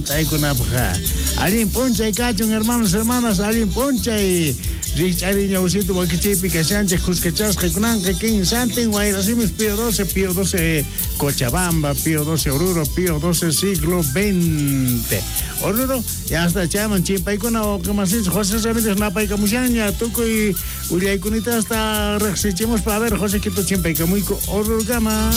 Hunt'aykunapaj. Allin p'unchay kachun, hermanos, hermanas, allin p'unchay. Rikch'ariña usitu wakichiypi kashanchej khuskachasqa kunanqa kinsantin Wayrasimis Pío 12, Pío 12 Cochabamba, Pío 12 Oruro, Pío 12 siglo XX. Oruro, ya hasta chayman chimpaykuna wawqimasinchik José Ramírez napaykamushanña tukuy willaykunita hasta riqsichimuspa. A ver, José Quito chimpaykamuyku Orurokama.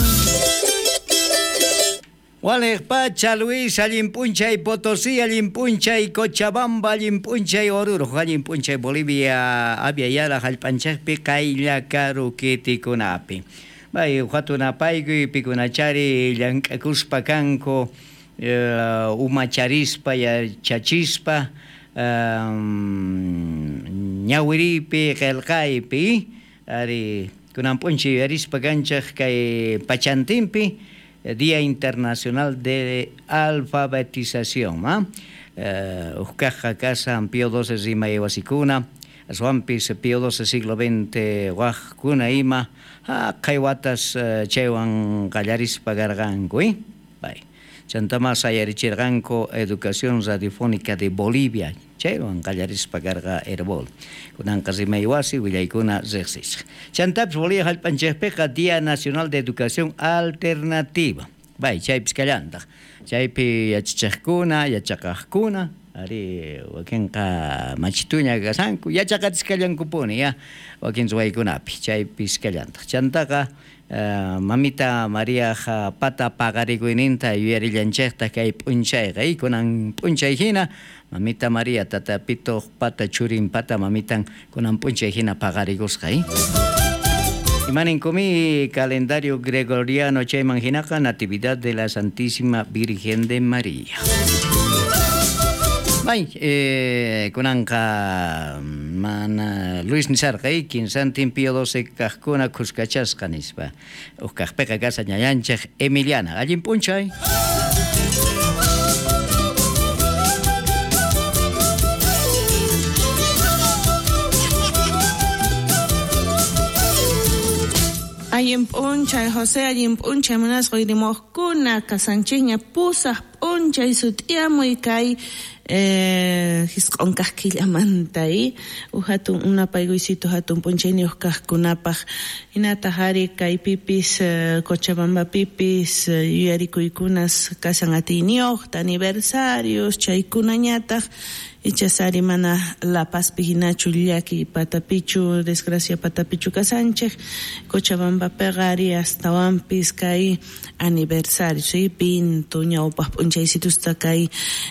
Waliq pacha, Luis, allin p'unchay Potosí, allin p'unchay Cochabamba, allin p'unchay Oruro, allin p'unchay Bolivia, Avia Yala hallp'anchikpi qaylla karu kitikunapi. Bay hatun apaykuy pikunachari llank'akuspa kanku umacharispa yachachispa ñawiripi qillqaypi ari kunan p'unchay yuyarispa kanchik kay pachantinpi Día Internacional de Alfabetización, ¿ah? Uqkaqqa kasan Pío XII rimay wasikuna, aswanpis Pío XII siglo XX waqkuna ima haqay watas chaywan qallarispa karqanku, Bay. Chantama sayarichirqanku Educación Radiofónica de Bolivia, chaywan qallarispa karqa Herbol. Kunanqa rimay wasi willaykuna riqsisqa. Chantapis Bolivia hallp'anchikpiqa Día Nacional de Educación Alternativa. Bay, chaypis kallantaq. Chaypi yachachiqkuna, yachaqaqkuna, ari wakinqa machituña kasanku, yachaqatisqallankupuni ya wakin ruwaykunapi, chaypis kallantaq. Chantaqa mamita María pata paqarikuyninta yuyarillanchikta kay p'unchayqa, kunan p'unchay hina mamita María tata Pito pata churin pata mamitan kunan p'unchay hina paqarikusqa. Imaninkomi calendario gregoriano chayman hinaqa Natividad de la Santísima Virgen de María. Bay, kunanqa mana Luis nisarqa, kinsantin Pío XII kaqkuna khuskachasqa nispa. Uqkaqpiqa kasa ñayanchik Emiliana. Allin p'unchay. Allin p'unchay, José, allin p'unchay, munasqa uyrimuqkuna, kasanchikña pusaq p'unchay sut'iyamuy kay hisq'unkaq killamanta, hatun unapaykuysito hatun p'unchayniyuq kaqkunapaq. Hinataq ari kaypipis Cochabambapipis yuyarikuykunas kasan atiyniyuqta, aniversarios, chaykunañataq ichas ari mana La Pazpi hinachu llaki patapichu, desgracia patapichu kasanchik. Cochabambapiqa ari astawanpis kay aniversario, ¿sí? Pinto ñawpaq p'unchaysitusta kay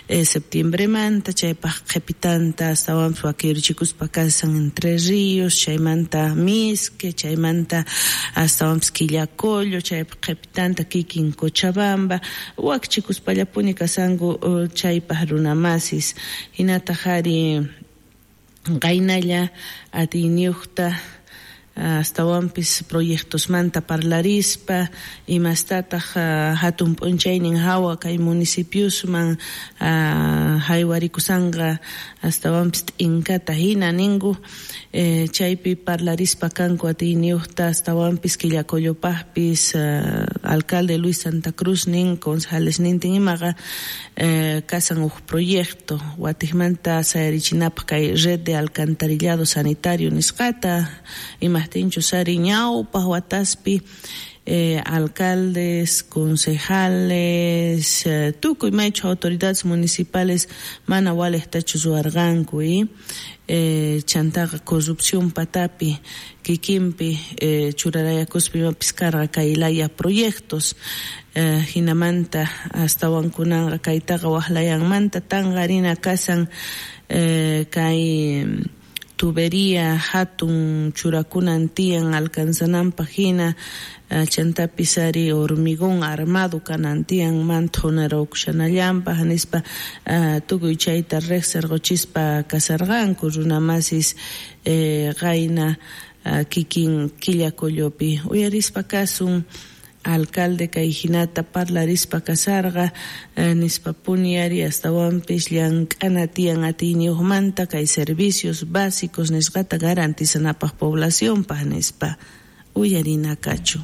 septiembremanta, chaypaq qhipitanta astawanpis wakirichikuspa kasan Entre Ríos, chaymanta Misque, chaymanta astawanpis Quillacollo, chaypaq qhipitanta kikin Cochabamba, wakchikuspallapuni kasanku chaypaq runamasis. Hinataq ari qaynalla atiyniyuqta astawanpis proyectosmanta parlarispa, imastataq hatun p'unchaynin hawa kay municipiosman haywarikushanqa astawanpis t'inkata hina ninku, chaypi parlarispa kanku atiyniyuqta astawanpis Quillacollopaqpis alcalde Luis Santa Cruz nin, concejales nintin imaqa kasan uj proyecto watiqmanta sayarichinapaq kay red de alcantarillado sanitario nisqata, imajtinchus ari ñawpaq wataspi alcaldes, concejales, tukuy maychu autoridades municipales mana waliqtachu ruwarqanku, chantaqa corrupción patapi kikinpi churarayakuspa imapis karqa kay laya proyectos, hinamanta astawan kunanqa kaytaqa waqlayanmanta tanqarina kasan kay tubería hatun churakunan tiyan alcanzananpaq hina, chantapis ari hormigón armado kanan tiyan manthunarukushanallanpaq nispa tukuy chayta riqsirquchispa kasarqanku runamasis qayna kikin Quillacollopi uyarispa kasun alcalde kay hinata parlarispa kasarqa nispa puni ari astawanpis llank'ana tiyan atiyniyuqmanta kay servicios básicos nisqata garantizanapaq poblacionpaq nispa uyarina kachu.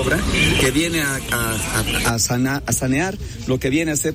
Obra que viene a sanear lo que viene a ser